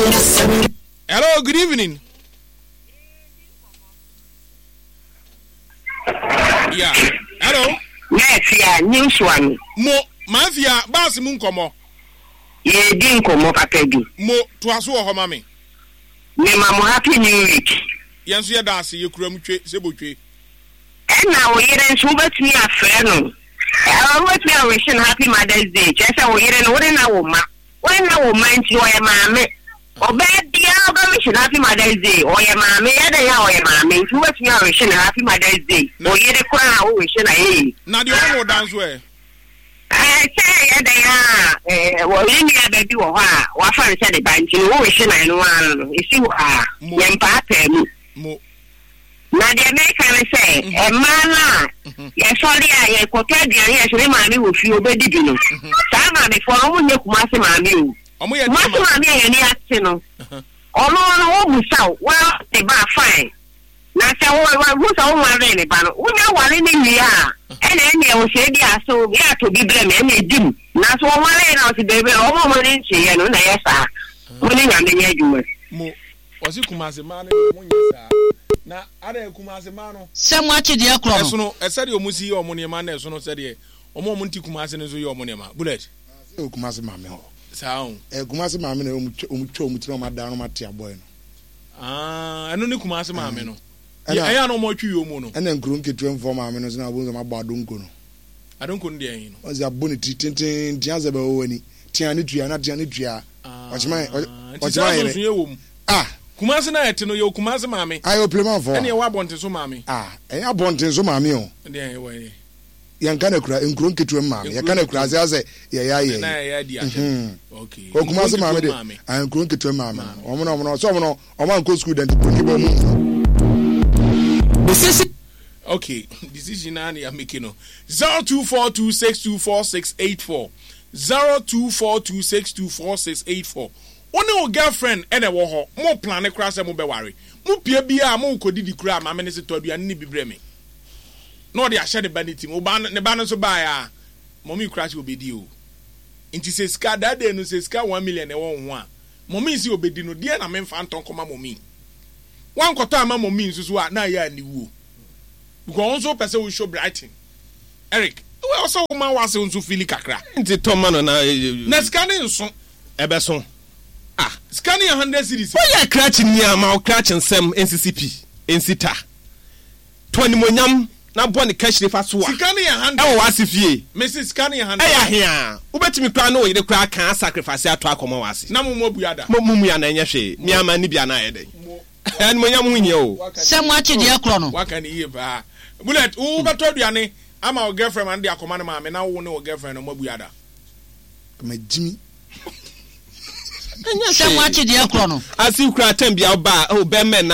Hello, good evening. Yeah. Hello. Mafia, news one. Mo, Mafia, baasi mu nkɔmɔ. Yɛredi nkɔmɔ papa bi. Mo, toa so wɔ hɔ ma me. Mema mo happy new week. Yɛn nso yɛda ase, yɛkura mu twe, sɛ botwe. Ɛna wo yere nso wobɛtumi afrɛ no, wobɛtumi awihye no happy mother's day, kyerɛ sɛ wo yere no wode no awo mma, wode no awo mma nti ɔyɛ maame. Ɔbaa biara wobɛwihye no happy mother's day, ɔyɛ maame, yɛ dɛn a ɔyɛ maame nti wobɛtumi awihye no happy mother's day, wo yere koraa a wowihye no ayɛ yie. Na deɛ ɔnwo da nso ɛ? Ɛɛ, sɛ ɛyɛ dɛn a, wɔ yɛn nua ba bi wɔ hɔ a wafa no sɛ ne ba nti no, wowihye no ɛno ara no, ɛsi hɔ a, yɛmpaapae mu. Mo. Na deɛ meka ne sɛ, mmaa no a yɛsɔre a yɛkɔtɔ aduane a yɛsɛ me maame wɔ fie ɔbɛdi bi no, saa maamefoɔ no wɔnyɛ Kumasi maame o. Kumasi maame a yɛn ani ate no, ɔno no wɔbusa wo, woaware ne ba a fine. Na sɛ wohu sɛ wonwaree ne ba no, wonya ware no wie a, ɛna ɛneɛ wo sɛ ebi a so yɛ atɔ bi brɛ me ɛna ɛdi mu. Nanso wɔnwaree no a ɔse daabi, wɔn a wɔn ani nkyeeɛ no na ɛyɛ saa. Mo ne Nyame nyɛ adwuma. Ɔse Kumase mmaa no deɛ ɔmo nyɛ saa na adɛn Kumase mmaa no. Sɛ mo akye deɛ korɔ no. Ɛsono sɛdeɛ ɔmo si yɛ ɔmo nneɛma na ɛsono sɛdeɛ ɔmo a ɔmo nte Kumase no nso yɛ ɔmo nneɛma. Bullet. Ah sɛ wɔ Kumase maame hɔ. Saa o. Ɛɛ Kumase maame na ɔmo twa ɔmo twa ɔmo ti na ɔmo adan na ɔmo ate abɔɛ no. Ah ɛno ne Kumase maame no. Ɛna ɛyɛ a na ɔmo atwi yɛ ɔmo no. Ɛna nkuro nketewa mfoɔ maame no nso na ɔmo abɔ adonko no. Adonko no deɛ ɛhe no. Ɔsi abɔ ne ti tenten tia sɛ bɛwɔ w'ani tia ne tua na tia ne tua. Ɔkyema nti saa nsonsonoeɛ wɔ mu. Ah. Kumasi na ɛte no yɛwɔ Kumasi maame. Ah yɛwɔ Plemanfoɔ. Ɛne yɛwɔ abɔnten so maame. Ah ɛnyɛ abɔnten so maame o. Ɛdeɛ ɛwɔ yɛ. Yɛnka no akura nkuro nketewa mu maame yɛka no akura ase asɛ yɛyɛ ayɛ yi. Na yɛyɛ adi atɛm. Okay. Wɔ Kumasi maame de ah nkuro nketewa mu maame no wɔn na wɔn sɛ wɔn no wɔn ankɔ sukuu dɛnti broni bɔ wɔn mu. Decision. Okay decision naa na yɛ make no 0242624684. 0242624684 Wo ne wo girlfriend na ɛwɔ hɔ, mo plane koraa sɛ mobɛware. Mo pue biara a morekɔdidi koraa a, maame no se tɔ aduane no bi brɛ me. Na ɔde ahyɛ ne ba no tirim. Wo ba no, ne ba no nso baeɛ a, mummy koraa se ɔbɛdi o. Nti sɛ sika, that day no sɛ sika 1 million na ɛwɔ wo ho a, mummy se ɔbɛdi no, deɛn na memfa ntɔ nkɔma mummy? Woankɔtɔ amma mummy nso so a, na ayɛ aniwuo. Because wo nso wopɛ sɛ wo show Brighton. Eric, wɔ sɛ wo ma w'asew nso fili kakra. Nti tɔ ma no na. Na sika no nso. Ɛbɛso. Ah, sika no yɛ 100 cedis. Woyɛ krakye ni a, ma wo krakye nsɛm nsisi pi, nsi ta. Tɔ animuonyam na bɔ ne kahyire fa soa Sika no yɛ 100. ɛwɔ w'ase fie. Mese sika no yɛ 100. Ɛyɛ ahe a, wobɛtumi koraa ne wo yere koraa aka asacrifice atɔ akɔma w'ase. Na mo mo abua da. Mo mo mua no ɛnyɛ hwee. Me ara manni bi a na ayɛ dɛn? Animuonyam ho hia o. Sɛ mo akye deɛ korɔ no. Waka no yie paa. Bullet, wo wobɛtɔ aduane ama wo girlfriend ma no de akɔma ne maame na wo ne wo girlfriend no moabua da? Magyimi. Ɛnyɛ Sɛ mo hwee. akye deɛ korɔ no. Ase koraa tɛm bia woba a, oh bɛmɛn na.